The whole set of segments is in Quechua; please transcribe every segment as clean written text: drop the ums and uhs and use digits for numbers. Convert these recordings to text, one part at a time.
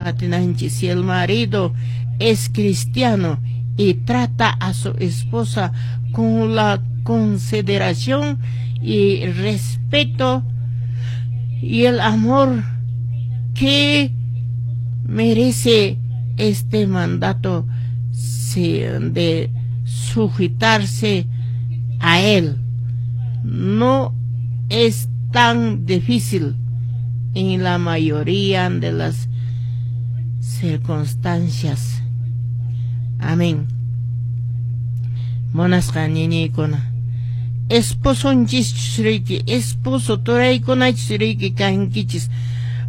Qatinanchis, si el marido es cristiano y trata a su esposa con la consideración y respeto y el amor que merece este mandato de sujetarse a él, no es tan difícil en la mayoría de las circunstancias. Amén. Munasqa ñañaykuna, esposonchis riki, esposo turaykunachus riki kankichis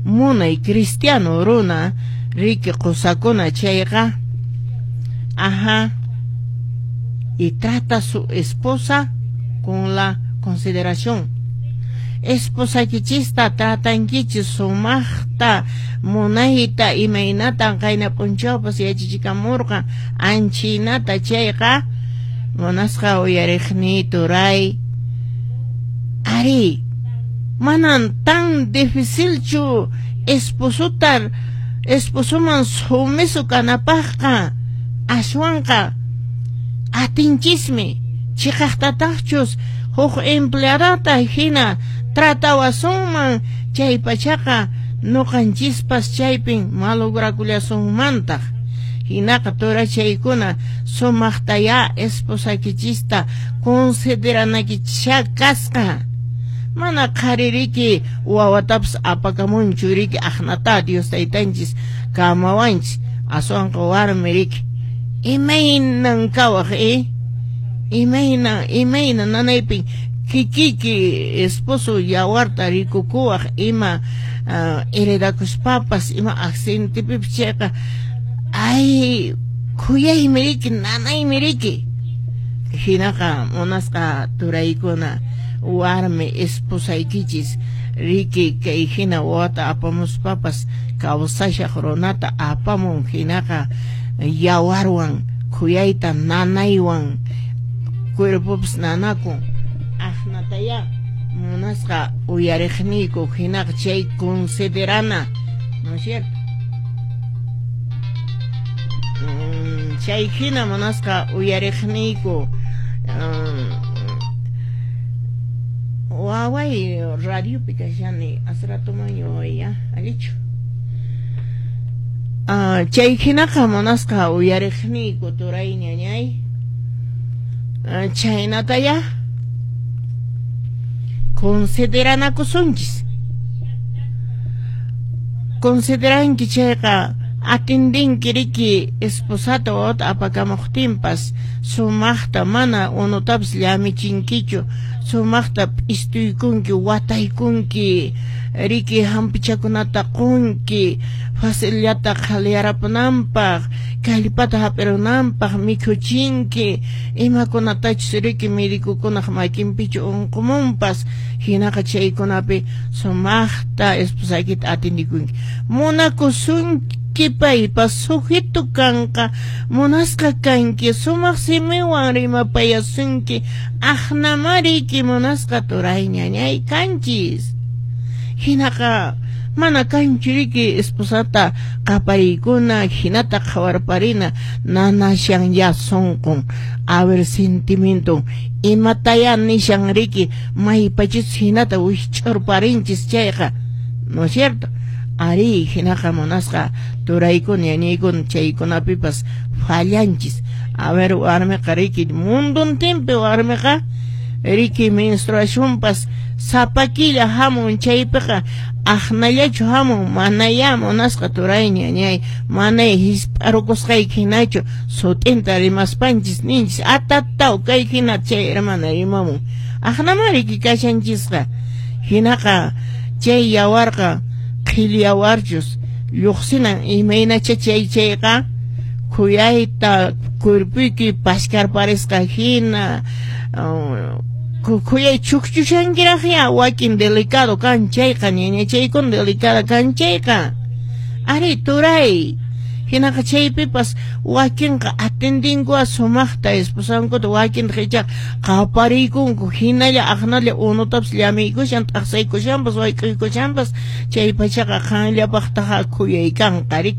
munay cristiano runa riki qosakuna chayqa, ajá, y trata a su esposa con la consideración. Esposaykichista tratankichis sumaqta, munayta, imaynatan qayna p'unchawpas yachachikamurqan anchinata chayqa, munasqa uyariqniy turay, ari, manan tan dificilchu esposota esposoman sumiso kanapaqqa, aswanqa atinchismi chiqaqtataqchus huk empleadata hina tratawasunman chay pachaqa nuqanchispas chaypin malograkullasunmantaq. Hinaqa turachaykuna sumaqtayá esposaykichista consideranakichisha kasqa. Mana qhaririki wawatapas apakamunchu riki aqnata Dios taytanchis kamawanchis, aswanqa warmi riki imaynan kawaq imayna nanaypin kikiki esposo yawarta rikukuwaq ima heredakuspapas ima accidentepipas chayqa ay khuyaymi riki nanaymi riki. Hinaqa munasqa turaykuna warmi esposaykichis riki kay hina wawata apamuspapas kawsashaq runata apamun hinaqa yawarwan khuyayta nanaywan cuerpopas nanakun aqnataya munasqa uyariqniyku hinaqa chay considerana, ¿no es cierto? Chay hina munasqa uyariqniyku waway radiopi kashani asratuman waway allichu. Chay hinaqa munasqa uyariqniyku turay ñañay chaynataya consideranakusunchis. Consideranki chayqa atendinki riki esposata wawata apakamuqtinpas sumaqta mana unutapas llamichinkichu, sumaqta p'istuykunki, wataykunki riki hampichakunata qunki facillata qhaliyarapunanpaq, kallpata hap'irunanpaq mikhuchinki, imakunatachus riki médicokunaq makinpichu unqumunpas hinaqa chaykunapi sumaqta esposaykita atendikunki. Munakusunki paypas sujeto kanqa, munasqa kanki, sumaq simiwan rimapayasunki, aqnamariki munasqa turay ñañay kanchis. Hinaqa mana kanchu riki esposata qapariykuna hinata qhawarparina nanashan ya sunqun, a ver sentimiento imataya nishan riki maypachis hinata wikch'urparinchis chayqa, ¿no es cierto? Ari hinaqa munasqa turaykuna ñañaykuna chaykunapipas fallanchis. A ver warmiqa riki munduntinpi warmiqa riki menstruacionpas sapa killa hamun chaypiqa aqnallachu hamun manayá munasqa turay ñañay manay hisp'arukusqayki hinachu sut'inta rimaspanchis ninchis atataw kay hina chay hermana rimamun aqnama riki kashanchisqa. Hinaqa chay yawarqa qhilli yawarchus lluqsinan imaynacha chay chayqa khuyayta cuerpuyki paskarparisqa hina khuyay chukchushankiraqya wakin delicado kan chayqa ñañachaykuna delicada kan chayqa ari turay hinaqa chaypipas wakinqa atendinkuqa sumaqta esposankuta wakinta ichaqa qapariykunku hinalla aqnalla unutapas llamiykushan t'aqsaykushanpas wayk'uykushanpas chay pachaqa qanllapaqtaqa khuyay kanqa riki.